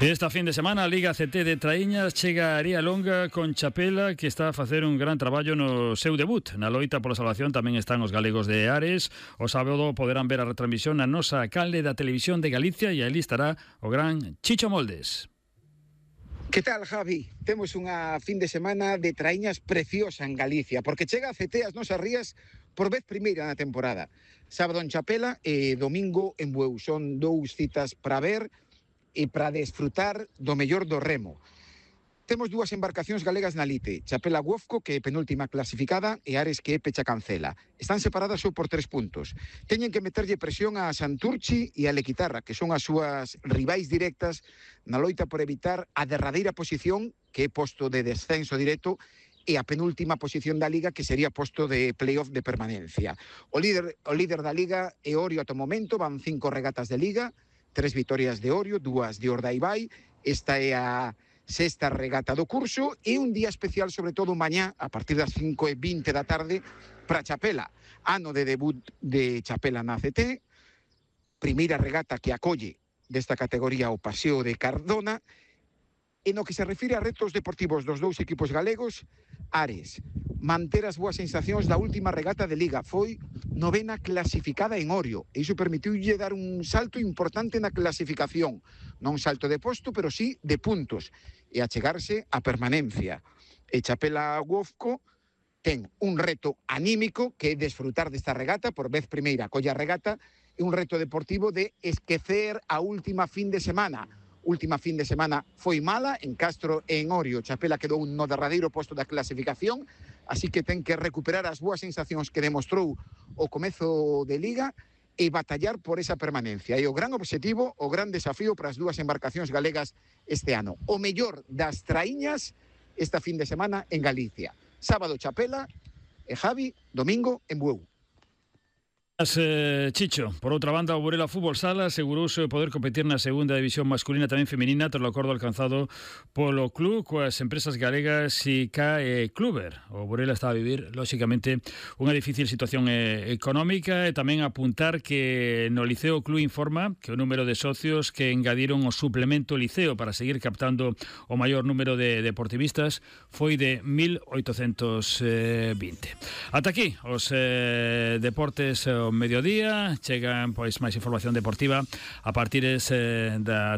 Esta fin de semana a Liga CT de Traíñas chega a Aría Longa con Chapela, que está a facer un gran traballo no seu debut. Na loita pola salvación tamén están os galegos de Ares. O sábado poderán ver a retransmisión na nosa canle da Televisión de Galicia e ali estará o gran Chicho Moldes. Que tal, Javi? Temos unha fin de semana de traíñas preciosa en Galicia, porque chega a CT as nosas rías por vez primeira na temporada. Sábado en Chapela e domingo en Bueu. Son dous citas para ver e para desfrutar do mellor do remo. Temos dúas embarcacións galegas na lite, Chapela Guofco, que é penúltima clasificada, e Ares, que é Pecha Cancela. Están separadas só por 3 puntos. Teñen que meterlle presión a Santurchi e a Lequitarra, que son as súas rivais directas na loita por evitar a derradeira posición, que é posto de descenso directo, e a penúltima posición da Liga, que sería posto de playoff de permanencia. O líder da Liga é Orio ata o momento, van 5 regatas de Liga, 3 vitorias de Orio, 2 de Ordaibai. Esta é a sexta regata do curso e un día especial, sobre todo mañá, a partir das 5:20 da tarde, para Chapela. Ano de debut de Chapela na CT, primeira regata que acolle desta categoría o Paseo de Cardona. E no que se refire a retos deportivos dos dous equipos galegos, Ares manter as boas sensacións da última regata de Liga. Foi 9ª clasificada en Orio. E iso permitiulle dar un salto importante na clasificación. Non salto de posto, pero sí de puntos. E achegarse a permanencia. E Chapela Guofco ten un reto anímico, que é desfrutar desta regata, por vez primeira colla regata, e un reto deportivo de esquecer a última fin de semana. Última fin de semana foi mala en Castro e en Orio. Chapela quedou no derradeiro posto da clasificación, así que ten que recuperar as boas sensacións que demostrou o comezo de Liga e batallar por esa permanencia. E o gran obxectivo, o gran desafío para as dúas embarcacións galegas este ano. O mellor das traíñas esta fin de semana en Galicia. Sábado Chapela e Javi, domingo en Bueu. Chicho, por outra banda, o Burela Fútbol Sala asegurouse poder competir na segunda división masculina tamén feminina tras o acordo alcanzado polo club coas empresas galegas ICA e Kluber. O Burela está a vivir, lóxicamente, unha difícil situación económica e tamén apuntar que no Liceo Club informa que o número de socios que engadiron o suplemento Liceo para seguir captando o maior número de deportivistas foi de 1.820. Ata aquí os deportes mediodía, chegan pois máis información deportiva a partir da